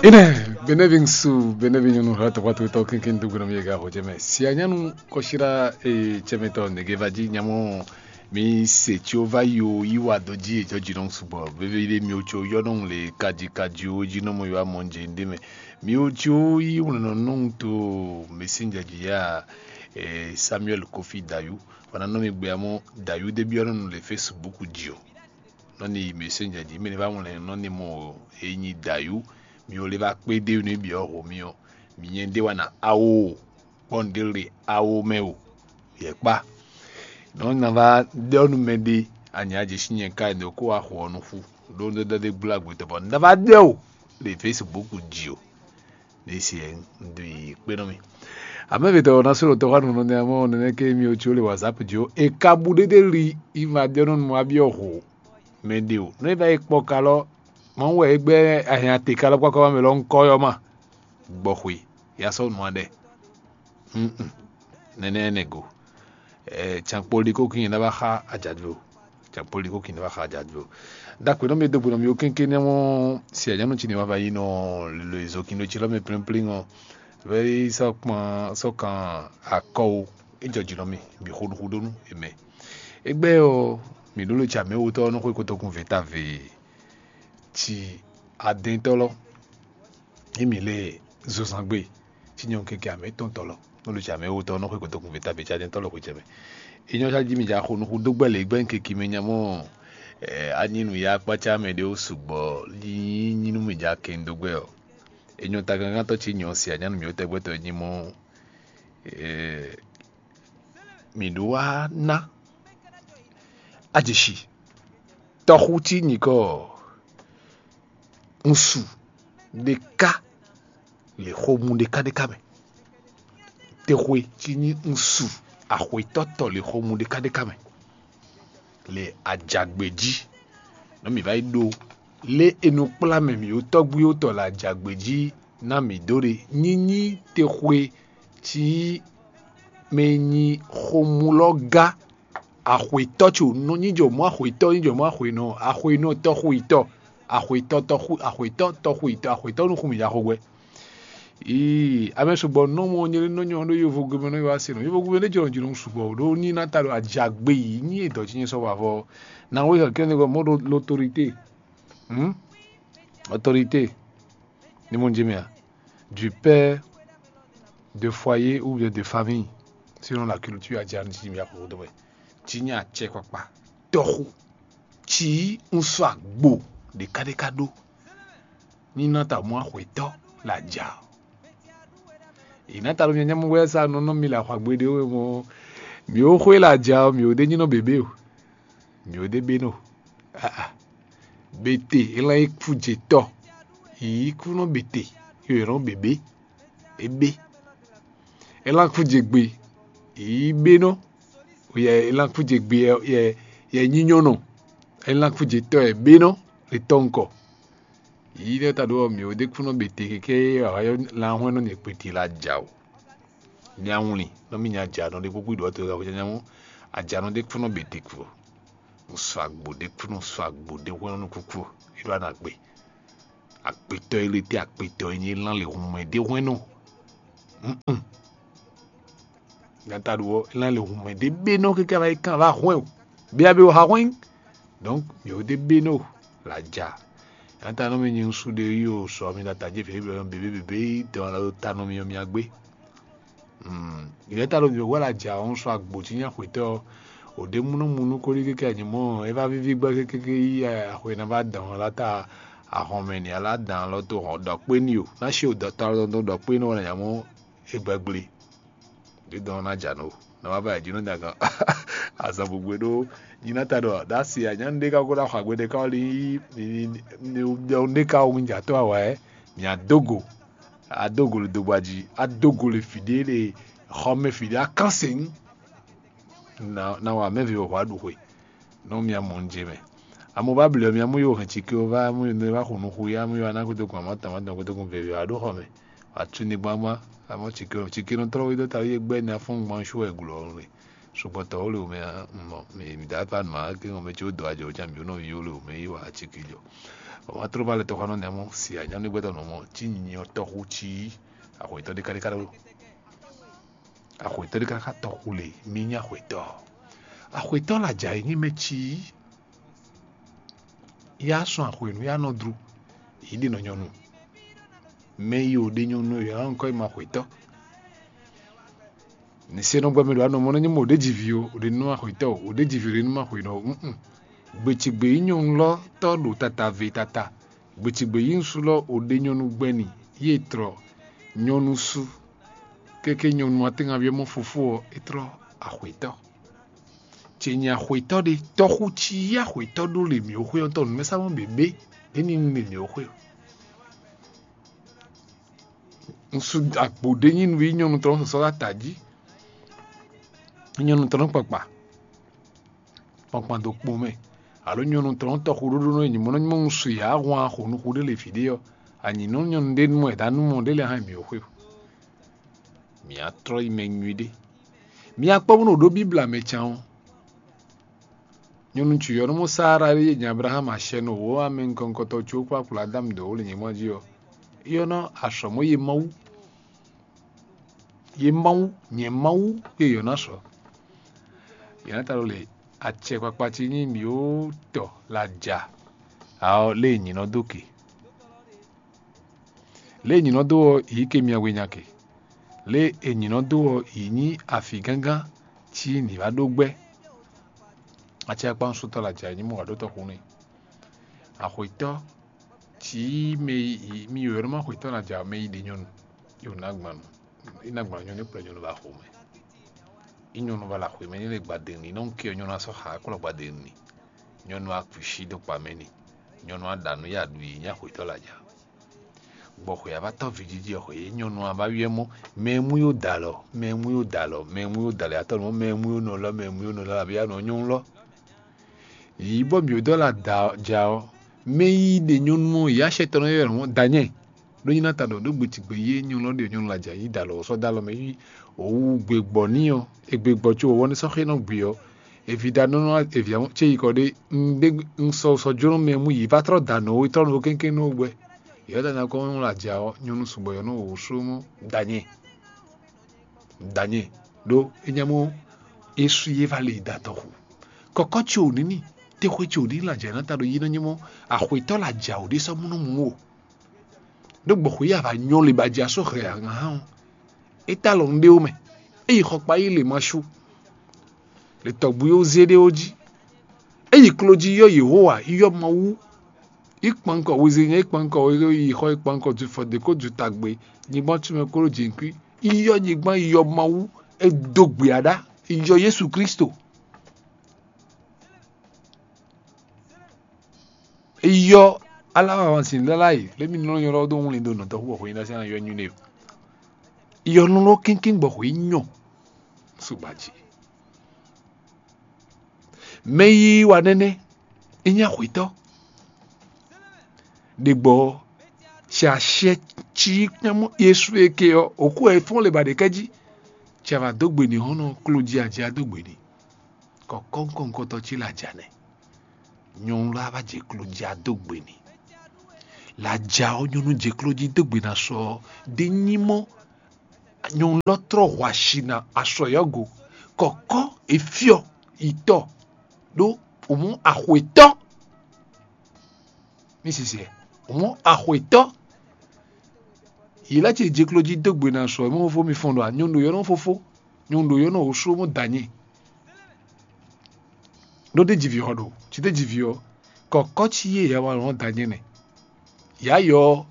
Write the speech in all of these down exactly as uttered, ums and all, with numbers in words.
Ine, benevinsu, benevinyunu, hla tɔkpatɔtɔ kinkin dugbe nɔ mi yega ho jɛmɛ. Sia nyanu kɔsira e cɛmɛtɔ nege va ji nyamɔ mi se tso va yi o yi wa do ji e jɔji nɔ sugbɔ. Veve de mi o tso yɔ nɔ le kaji kaji o ji nɔ mo yɔ amɔ je de mɛ. Mi o tso yi wlɔnɔ nɔ to messenger ji ya e Samuel Kofi Dayu. Wana nɔ mi gbe amɔ Dayu de bi ɔnɔ le Facebook ji o. Nɔ ni yi messenger ji, mi ne va wlɛn nɔ ni mɔ e nyi Dayu, mi o le va kpé dé nú biɔ ho mi ɔ, mi nyɛ de wa na awo kpɔn de le awo mɛ o. Yɛ kpa. Nɔ na va ɖɔ nú mɛ ɖe, anya je si nyɛ ka ne ko wa xɔ ɔ nu xu. Ɖo nɔ ɖɔ de gbla gbetɔ bɔ nɔ va ɖɔ o le Facebook ji o. Ne si ɛ un ɖo yi kpé nɔ mi. Amɛvitɔ na solo tɔxɔ nunɔ ne amɔ nene ke mi o tso le WhatsApp ji o. E ka bu ɖe ɖe li yi ma ɖɔ nɔ nu abiɔ ho mɛ ɖe o. Nɔ e va yi kpɔ ka lɔ, mɔ wɛ e gbɛ ahiã te ka lɔ kpakɔ ma mɛ lɔ ŋkɔ yɔ ma. Gbɔxwe ya sɔ nu aɖɛ. Mm. Nene ene go. Eh, can kpoli ko kin na va xa ajadvo. Can kpoli ko kin na va xa ajadvo. Dakwe nɔ mi do gbe nɔ mi o kénké ne mɔ si anyanu ci ne ma va yi nɔ lo izo kin do ci lɔ mi plin plin ɔ. Vɛ yi sɔ kpɔn sɔ kan akɔ o. E jɔ ji nɔ mi mi xo nuxu ɖo nu emɛ. Egbɛ ɔ mi ɖo lo ci amɛ wotɔ nɔ xwe kotokun ve ta ve. Ci adɛntɔ lɔ. Imi lé zozangbe tí nyɔ́ keke amɛ tɔn tɔlɔ nɔ lu tsi amɛ wo tɔ nɔ xwe kotokun vɛ ta bɛ tsa dɛn tɔlɔ xwe tsa mɛ. Enyɔ tsa ji mi dza xo nuxu dó gbɛ lě gbɛ keke mɛ nya mɔ anyi nu ya kpatsa mɛ ɖe wo sugbɔ yi nyi nu mi dza kɛn dó gbɛ ɔ. Enyɔ ta gangan tɔ tsi nyɔ si anyanu mi wo tɛgbɛ tɔ nyi mɔ mi ɖó wá ná ajeshi tɔxu tí nyikɔ ŋsu ɖeka le xomú ɖeka ɖeka mɛ. Texwe tí nyí ŋsu axwetɔ́ tɔ le xomú ɖeka ɖeka mɛ le ajagbe jí. Nɔ mǐ va yi ɖó lé e nɔ kplá mɛ mǐ tɔ́gbúyó tɔ le ajagbe jí ná mǐ dó ɖe nyínyí texwe tí mɛ nyi xomú lɔ gá axwetɔ́ tso nɔ nyí jɔ mɔ axwetɔ́ nyí jɔ mɔ axwenɔ axwenɔ tɔxwetɔ́ axwetɔ́ tɔxu axwetɔ́ tɔxwetɔ́ axwetɔ́ nú xú mǐ ya xo gbɛ. Ii, amɛ sugbɔ nɔ mɔ nyɛ nɔ nyɔ ɖo yovo gbe mɛ nɔ yɔ asi nɔ yovo gbe mɛ ne jɔ jɔ sugbɔ ɖo ní na ta ɖo ajagbe yi ní edɔ tsi nyɛ sɔ wavɔ na wo kɛkɛ ne mɔ ɖo l'autorité. Hmm? Autorité. Ni mo jimi a? Du père de foyer ou bien de famille, selon la culture adjani si mi akoko dɔ wɛ. Tsi nya tsɛ kpakpa tɔxu tsi un sɔ agbo ɖeka ɖeka ɖo ní nɔ ta mɔ axwetɔ la dza. Yi na ta ɖo mi nyamɔ wɛ sa nɔ nɔ mi la xɔ agbo ɖe wo mɔ mi wo xwe la dza mi wo de nyi nɔ bebe o. Mi wo de be nɔ. Aa, bete elan yi kú dze tɔ yi kú nɔ bete yo yɔ nɔ bebe ebe elan kú dze gbe yi be nɔ yɛ elan kú dze gbe yɛ yɛ nyinyɔnɔ elan kú dze tɔ yɛ be nɔ le tɔ ŋkɔ. Yi ɖe ta ɖo mi wo de kú nɔ bete keke lan hɔn nɔ ne kpeti la dza o. Ní awlin nɔ mì nya jǎnɔ ɖé kpókpó ɖɔ to ɖɔ nyanya mɔ ajǎnɔ ɖé kúnɔ bɛ te kú. Un sɔ agbo ɖé kúnɔ sɔ agbo ɖé hwɛ́n nɔ kúkú. É ɖo ana gbe. Agbetɔ ele te agbetɔ enyi lan le hun mɛ ɖé hwɛ́n nɔ. Gata ɖo ɔ́, é ná lɛ hun mɛ ɖé bé nɔ keke ava yi kan ava hwɛn o. Bia be o ha hwɛn. Donc mi o de be no la ja. Gata nɔ mi nyi ŋsu ɖe yi o sɔ mi la ta je fɛ be be be be dɔn la ta nɔ mi ɔ mi agbe. Ìrẹ́ ta ɖo mi wɛ la ja ɔ́ ŋsu agbo tí nya xwetɔ ɔ. O ɖe munɔ mu nú kóɖí keke anyi mɔ ɔ, é va víví gbɛ keke yi axwe ná va dɔn la ta ahɔn mɛ ni ala dan lɔ to hɔn ɖɔ kpé ni o. Ná si o dɔ ta lɔ dɔn ɖɔ kpé ni o na nya mɔ é gbɛgble. Ɖé dɔn ná dza nɔ o. Na wá va yi jínɔ nya gan. Azan gbogbo ɖó nyi ná ta ɖɔ ɖa si a nyanu ɖé ka ko ɖa xɔ agbe ɖé ka wɔ li. Ɖɔ ɖé ka wɔ mi dza tɔ awa ɛ. Mi adogo. Adogo le dogba ji. Adogo le fi ɖé le xɔmɛ fi ɖé akan se nu. Na na wa mɛ vi wɔ hwa ɖu xwe. Nɔ mia mɔ un je mɛ. Amu va blɛ mia mu yo hɛn tike o va mu yo ne va xo nuxu ya mu yo ana koto kun amɔ tama dɔn koto kun veve wa ɖo xɔ mɛ. Wa tu ni gbangban amɔ tike o tike nɔ trɔ wi dɔ ta wi gbɛ ni afɔn gban su wɛ glo ɔnu le. Sugbɔn tɔ wo le o mɛ mɔ mi mi da pa ma ke ŋɔ mɛ tso do ajɔ o jan mi o nɔ wi o le o mɛ yi wa tike jɔ. Wá tló ba lɛ tɔxɔ nɔ nɛmú si anyɔ́núgbɛ́tɔ́ nɔ mɔ cí nyinyɔ tɔxú cí axwetɔ́ ɖé káɖéká ɖó. Axwetɔ́ ɖé káká tɔxú le mí nyí axwetɔ́. Axwetɔ́ la jà yi nyí mɛ cí. Yá sɔn axwenu yá nɔ dru. Yí ɖe nɔ nyɔnu. Mɛ yi ò ɖe nyɔnu yɔ ɔ́ nukɔ yi ma xwetɔ́. Nǐ se nɔ gbɔ mɛ ɖo anɔ mɔ nɔ nyí mɔ ò ɖe ji vi o, ò ɖe nú axwetɔ́ o, ò ɖe ji vi ò ɖe nú axwenu o. Gběcigbě nyí nyɔnu lɔ tɔ́ ɖo tata ve tata. Gběcigbě nyí ŋsu lɔ ò ɖe nyɔnu gbɛ́ni yí è tlɔ nyɔnu su. Kéké nyɔnu atɛ́ngaví ɔ́ mɔ fofó ɔ́, é tlɔ axwetɔ́. Ce nyi axwetɔ́ ɖé, tɔ́xú cí yí axwetɔ́ ɖó le mǐ ó xwé ɔ́ tɔn nǔmɛsá mɔ běbé ɖé ní nu le mǐ ó xwé o. Ŋsu agbo ɖé nyí nǔ yi nyɔnu tɔn sɔsɔ ɖo ata jí. Nyɔnu tɔn kpakpa kpankpan dó kpo mɛ, alo nyɔnu tɔn tɔxu ɖóɖó nɔ nyi mɔ nɔ nyí mɔ ŋsu yǎ hwan xo nuxu ɖé le vǐ ɖé ɔ́, anyǐ nɔ nyɔnu ɖé nú mɔ è dǎ nú mɔ ɖé lɛ́ɛ hán mǐ ó xwé. Mǐ á tlɔ́ yi mɛ nyuiɖé. Mi akpɔ́ bónú ɖó Bíbla mɛ can ɔ́. Nyɔnu cuyɔ́númɔ Saara ɖé e nyi Ablaxámu acɛ nɔ wǒ amɛ nukɔntɔn có kpó akplɔ Adámu dó wǒ le nyɛ̌gbɔ́n jí ɔ́, é ɔ́ nɔ azɔ̌ mɔ yě Mawu. Yě Mawu, nyɛ Mawu, yě yɔ̌ ná sɔ. Yě ná ta ɖo le acɛ kpakpa ce nyí mǐ ó tɔ la ja. Aɔ lé e nyǐ nɔ dó ke. Lě e nyǐ nɔ dó ɔ́, yǐ ke myɛ we nya ke. Lě e nyǐ nɔ dó ɔ́, yǐ nyí afǐ gángán cí nǐ wá ɖó gbɛ́. Acɛ akpá ŋsútɔ́ la jɛ nyí mɔ wǎ ɖó tɔxu n'i. Axwetɔ́ cí mɛ yi mi yǒ nɔ má xwetɔ́ na jɛ mɛ yi ɖe nyɔnu. Yǒ ná gbanu. Í ná gbanu nyɔnu kplɔ́ nyɔnu ba xo mɛ. Í nyɔnu ba la xwe mɛ ní lɛ gbadenu ní nɔ ke nyɔnu asɔ xa kplɔ́ gbadenu ní. Nyɔnu akpǐ sí dó kpa mɛ ní. Nyɔnu aɖa nǔ ya ɖu yě nyí axwetɔ́ la ja. Gbɔ xwe avatɔ́ vǐjiji ɔ́ xwe yě nyɔnu ava wiɛ mɔ mɛ e mú yó da alɔ, mɛ e mú yó da alɔ, mɛ e mú yó da alɔ atɔ́ mɔ mɛ e mú yó nɔ lɔ, mɛ e mú yó nɔ lɔ abí ya nɔ nyɔnu lɔ. Yǐ bɔ mǐ dɔ la da ja ɔ́, mɛ yi ɖe nyɔnu ɔ́ yǎ sɛtɔ́ nɔ yɔ mɔ danyɛ. Ɖó nyí ná ta ɖɔ ɖó gbe tigbe yé nyɔnu ɔ́ ɖe nyɔnu la ja yí da alɔ sɔ́ da alɔ mɛ yí òwú gbe gbɔ ní ɔ́, e gbe gbɔ có wɔ̌ ní sɔ́ xé nɔ gbe ɔ́, evi ɖa nɔ nɔ evi ce yi kɔ ɖé. Un ɖe un sɔ sɔ jló mɛ mú yǐ va trɔ́ da nɔ wé trɔ́ nɔ kéŋkéŋ nɔ gbɛ. Yɔ̌danu akɔ́ la ja ɔ́, nyɔnu sugbɔ yɔ̌ nɔ wǒ sú mɔ danyɛ. Danyɛ ɖó é nya mɔ é sú yé va le yi da tɔxu. Kɔkɔ ce ò ní ní, texwe ce ò ní ní la ja ná ta ɖo yí nɔ nyí mɔ axwetɔ́ la ja ò ɖé sɔ́ mú nɔ mú o. Ɖó gbɔxwe yí ava nyɔ le ba ja só xɛ ahan hán o. É ta lɔ un ɖé ó mɛ. É yi xɔkpa yí le ma sú. Le tɔgbu yó zé ɖé ó jí. É yi klo jí yɔ Yehowa yɔ Mawu. Í kpankɔ wezényɛ, í kpankɔ yi xɔ, í kpankɔ ju fɔ dě kó ju tagbe, nyigban tún mɛ kó ɖó jǐnkwí. Í yɔ nyigban, í yɔ Mawu, é dó gbe aɖá, í yɔ Yesu Kristo. É yɔ aláwa sin lɛ́ láyè lé mi nɔ nyɔ́ dó wlin dó nɔtɔ́ xú xwé ná sɛn yɔ nyuɖe. Yɔ nú lɔ kínkín gbɔ xwé nyɔ. Sugbaji. Mɛ yí wa nɛnɛ, é nyí axwetɔ́. Ɖegbɔ ɔ́, sɛ asyɛ cí kpɛ́mú Yesu e ke ɔ́, òkú ɛ fɔ́n le ba ɖe kɛ́ jí. Cɛ va dó gbe n'i hɔn nɔ kló jí ajá dó gbe n'i. Kɔkɔ́nkɔ́nkɔ́tɔ́ cí laja nɛ. Nyɔnu lɔ va jɛ kló jí adó gbe n'i. Laja ɔ́ nyɔnu jɛ kló jí dó gbe na sɔ ɔ́, ɖé nyí mɔ nyɔnu lɔ trɔ́ hwashi na asɔ yɔ́ go. Kɔkɔ́ efyɔ yi tɔ ɖó òmú axwetɔ́. Mi sisɛ, òmú axwetɔ́. Yě lɛ́ ce jɛ kló jí dó gbe na sɔ mɔ fó mi fɔn ɖɔ nyɔnu ɖo yɔ́ nɔ fófó, nyɔnu ɖo yɔ́ nɔ wǒ sú mɔ danyɛ. Ɖó ɖé jivi xɔ ɖo, cí ɖé jivi ɔ́, kɔkɔ́ cí yé ya wa lɔn danyɛ nɛ. Yǎ yɔ ɔ́,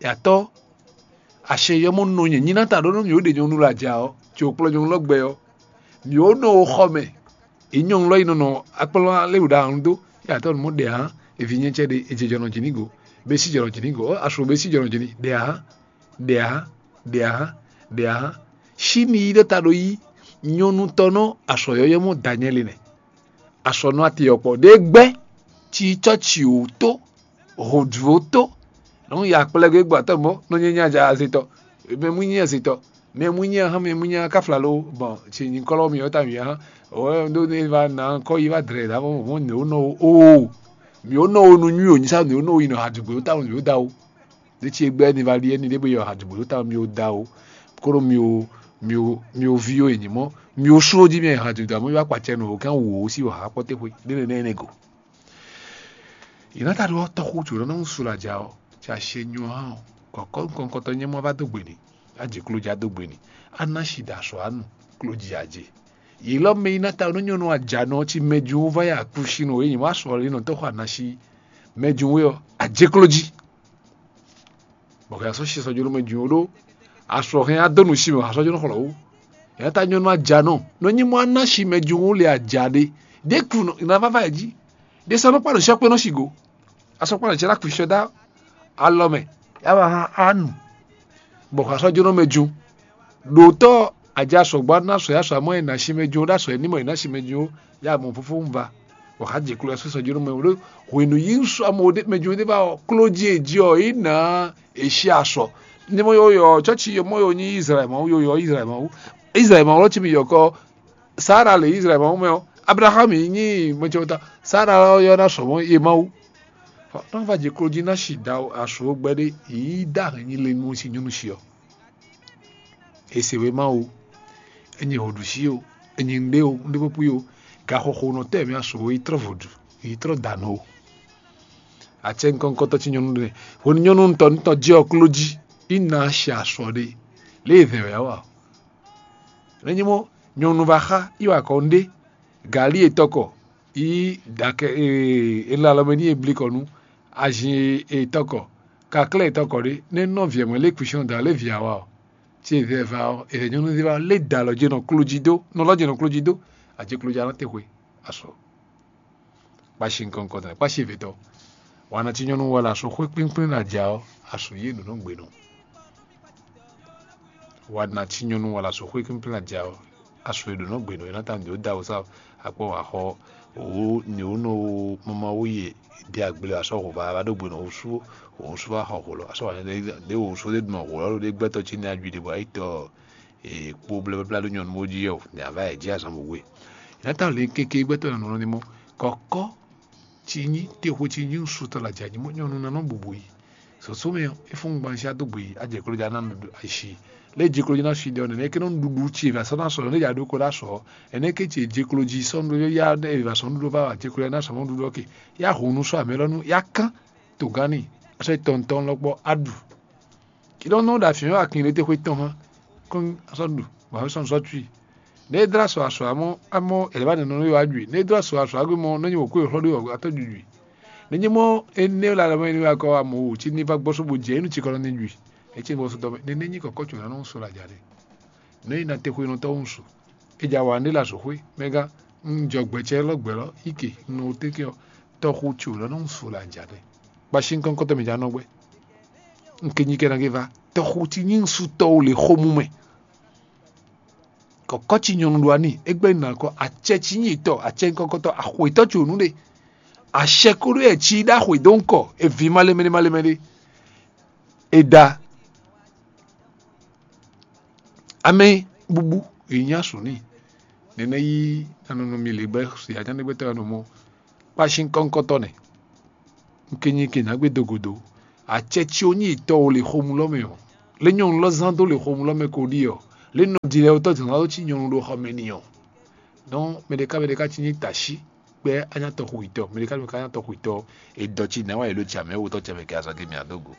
yǎtɔ́, acɛ yɔ́ mɔ nɔ nyɛ nyi ná ta ɖó nú mì ó ɖe nyɔnu lɔ aja ɔ́, ci ò kplɔ́ nyɔnu lɔ gbɛ ɔ́, mì ó nɔ wo xɔ mɛ. È nyɔnu lɔ yi nɔ nɔ akplɔ́ léwu ɖo ahɔn dó, yǎtɔ́ nú mɔ ɖe ahán, èvi nyɛ cɛ ɖe, è jɛ jɔnɔ jǐ ní go, bɛ sí jɔnɔ jǐ ní go, ɔ́, asu bɛ sí jɔnɔ jǐ ní, ɖe ahán, ɖe ahán, ɖe ahán, ɖe ahán. Sí mi yi ɖó ta ɖo yí, nyɔnu tɔn nɔ asɔ yɔ́yɔ́ mɔ danyɛ le nɛ. Asɔ nɔ ati ɔkpɔ ɖe gbɛ, ci cɔci wò tó, hǒdúró tó. Nɔ ya kplɛ gbé gbɔ atɔ mɔ nɔ nyɛ nya ja azetɔ. Mɛ mu nyɛ azetɔ. Mɛ mu nyɛ hã mɛ mu nyɛ kafla lo bɔn ci nyikɔlɔ mi ɔta mi hã. O do ne va na kɔ yi va dre da mɔ mo ne o nɔ o. mǐ ó nɔ wo nú nywí o nyi sá mǐ ó nɔ wo yi nɔ ha dùgbò ó ta mǐ ó da ó. Ɖé ce gbɛ́ ni va ɖi ɛni ɖé bó yi nɔ ha dùgbò ó ta mǐ ó da ó. Kóɖó mǐ ó mǐ ó mǐ ó ví ó è nyǐ mɔ́ mǐ ó sú ó jí mì ha dùgbò amɔ́ yó akpacɛ nɔ wǒ kán wǒ sí wǒ ha kpɔ́ téxwe ɖé nɛnɛ énɛ́ go. Yě ná ta ɖó ɔ́ tɔxú jǒnɔ nɔ su la ja ɔ́, ca she nyo hán ɔ́, kɔ̌kɔ́ nukɔn nukɔntɔn nyɛ́ mɔ vá dó gbe n'i, á jǐ kló ja dó gbe n'i, á ná shi ɖo asɔ̌ á nu, kló ji ǎ jɛ. Yě lɔ mɛ yi ná ta nú nyɔ̌nu ajanɔ ɔ́ cí mɛjú wú vá yi akúsínú é nyǐ wá sɔ ɔ́ nɔ tɔ́ xɔ anashi mɛjú wú ɔ́, ajékló jí. Bɔ hɛn asɔ́ shi sɔjɔnú mɛjú wú ɖó asɔ hɛn adó nǔ sí mɛ asɔ́ jɔnú xlɔ́ wú. Yě ná ta nyɔ̌nu ajanɔ nɔ nyí mɔ anashi mɛjú wú le aja ɖé. Ɖě kú nɔ ná vává yě jí. Ɖě sɔ́ nɔ kpá nǔ sɔ́ kpé nɔ shi go. Asɔkpa lɛ cɛ ɖo akpǐsɔ dó alɔ mɛ, yá wá hán á nu. Bɔ xɔ asɔ́ jónɔ mɛ jó. Ɖǒtɔ́ ajá sɔgbɔ ná sɔ yá sɔ amɔ́ e ná sí mɛ jó ɖó asɔ e ní mɔ e ná sí mɛ jó yá mɔ fúfú ń va. Bɔ xá jɛ kló yá sɔ́ jónɔ mɛ ɖó hwenu yí ń sɔ amɔ ɖé mɛ jó ɖé va ɔ kló jí e jí ɔ é nǎ é sí asɔ. Ní mɔ yɔ yɔ cɔ́ci yɔ mɔ yɔ nyí Izlayɛl Mawu yɔ yɔ Izlayɛl Mawu. Izlayɛl Mawu lɔ cí mi yɔ kɔ Sara le Izlayɛl Mawu mɛ ɔ́, Ablaxámu yi nyí mɛcɛwota. Sara ɔ́ yɔ ná sɔ mɔ̌ ye Mawu. Nɔ va jɛ klo jí ná si da asǔ gbɛɖé yí dá hɛn nyi le nú si nyɔ́nu si ɔ́. È se wé Mawu, è nyi hǒɖusi o, è nyi nɖé o, nɖé pɔ́pɔ́ o, gaxɔxɔnɔtɔ́ mɛ asǒ yi trɔ́ vodù, yi trɔ́ dǎnù o. Acɛ nukɔntɔn ci nyɔ́nu ɖé, hwenu nyɔ́nu ntɔ́ ntɔ́ jɛ ɔ́ kló jí, yi ná si asɔ ɖé, lě e vɛ̌ wɛ ɔ́ a? Nɛ́ nyí mɔ́, nyɔ̌nu va xá yi wa kɔ nɖé, galí e tɔkɔ yi dakɛ e la alɔ mɛ n'i e blikɔ nú, azin e tɔkɔ, kaklɛ́ e tɔkɔ ɖé, nɛ́ nɔ vǐ mɛ lé kwísɔ́n da lé vǐ awa ɔ́, ce vɛ va ɔ́, è nyɔ̌nu va lé da alɔ jɛ nɔ kló jí dó, nɔ lɔ jɛ nɔ kló jí dó, a jɛ kló jí alɔ te xwe, asɔ. Kpashi nukɔn nukɔn tɔn kpashi evetɔ. Wana ci nyɔnu wala so xwé kpínkpín na ja ɔ́, asu yé ɖo nɔ gbe nɔ. Wana ci nyɔnu wala so xwé kpínkpín na ja ɔ́, asu yé ɖo nɔ gbe nɔ. Yé ná ta nǔ da wosá akpɔ wà xɔ òwú ní wú nɔ mama wú yè. Bí agble asɔ hova va ɖó gbe nɔ wosú wosú va xɔ holo asɔ wà ɖé wosú ɖé dùn holo ɖé gbɛtɔ ci ní ajui ɖe bɔ ayi tɔ kpó blɛ́blɛ́blá ɖó nyɔnu bó jí ɔ́, ní a va yi jí azɔn bó we. Nátán lě kéké gbɛtɔ́ nɔ nɔ ní mɔ kɔkɔ ci nyí texo ci nyí sutɔ la ja nyí mɔ nyɔnu nanɔ bubu yi. Sɔsɔ mɛ é fún gban si adó gbe yi adze klo ja na nu ashi. Lé ji klo na si ɖe ɔnɛ ne ke nɔ ɖuɖu ci va sɔ na sɔ ne ja ɖo ko la sɔ. Ene ke ci ji klo ji sɔ nu ya ne va sɔ nu ɖo va adze klo na sɔ mɔ ɖuɖu ke. Ya hu nu sɔ amɛ lɔ nu ya kan to gani. Asɔ tɔntɔn lɔ kpɔ adu. Kí lɔ nɔ ɖo afin wɛ akin ɖe te xwe tɔn hã. Kɔn asɔ ɖu bɔ asɔ sɔ tui. Ne é dlá sɔ asɔ amɔ amɔ ɛlɛ ba nɔ nɔ yɔ adui ne é dlá sɔ asɔ agbe mɔ nɔ nyi wòkú exlɔ ɖo atɔ dudui. Ne nyi mɔ ene la lɛ mɔ ene wa kɔ amɔ wo tsi ni va gbɔsɔ bo dze enu tsi kɔ nɔ ni dui. Etse ni gbɔsɔ dɔmɛ ne ne nyi kɔkɔ tso na nɔ so la dza ɖe. Ne yi na te xwe nɔ tɔ ŋu su. Edza wa nɖe la zo xwe mɛ gã. Un jɔ gbɛtsɛ lɔ gbɛ lɔ ike un nɔ te ke ɔ tɔxu tso lɔ nɔ ŋu su la dza ɖe. Kpashi ŋkɔŋkɔtɔ mi dza nɔ gbɛ. Un ke nyi kɛ na ke va tɔxu ti nyi ŋsu tɔwo le xo mu mɛ. Kɔkɔ ci nyɔnu ɖo ani egbɛ na kɔ acɛ ci nyi tɔ acɛ ŋkɔŋkɔtɔ axwetɔ tso nu ɖe. Acɛ ko ɖo yɛ ci ɖo axwe do ŋkɔ evi ma lemɛ ma lemɛ ɖe. Eda amɛ bubu ènyí asǔ n'i. Nɛnɛ yí nanɔnɔ mi lě gbɛ si ajánɛgbɛtɔ́ ya nɔ mɔ kpashi ŋkɔŋkɔtɔ nɛ. Un ke nyi ke nǎ gbé do gǔdo. Acɛ ci ó nyí tɔ o le xomú lɔ mɛ ɔ́, lé nyɔnu lɔ zán dó le xomú lɔ mɛ ko ɖi ɔ́, lé nɔ ɖi lɛ wotɔ zǎn dó cí nyɔnu ɖo xɔ mɛ n'i ɔ́. Nɔ mɛ ɖeka mɛ ɖeka ci nyí tashi kpɛ anyatɔ xu yitɔ, mɛ ɖeka mɛ ɖeka anyatɔ xu yitɔ, e dɔ ci nǎ wa yě ɖo ci amɛ wotɔ ce mɛ kɛ azɔn ke mì adó go.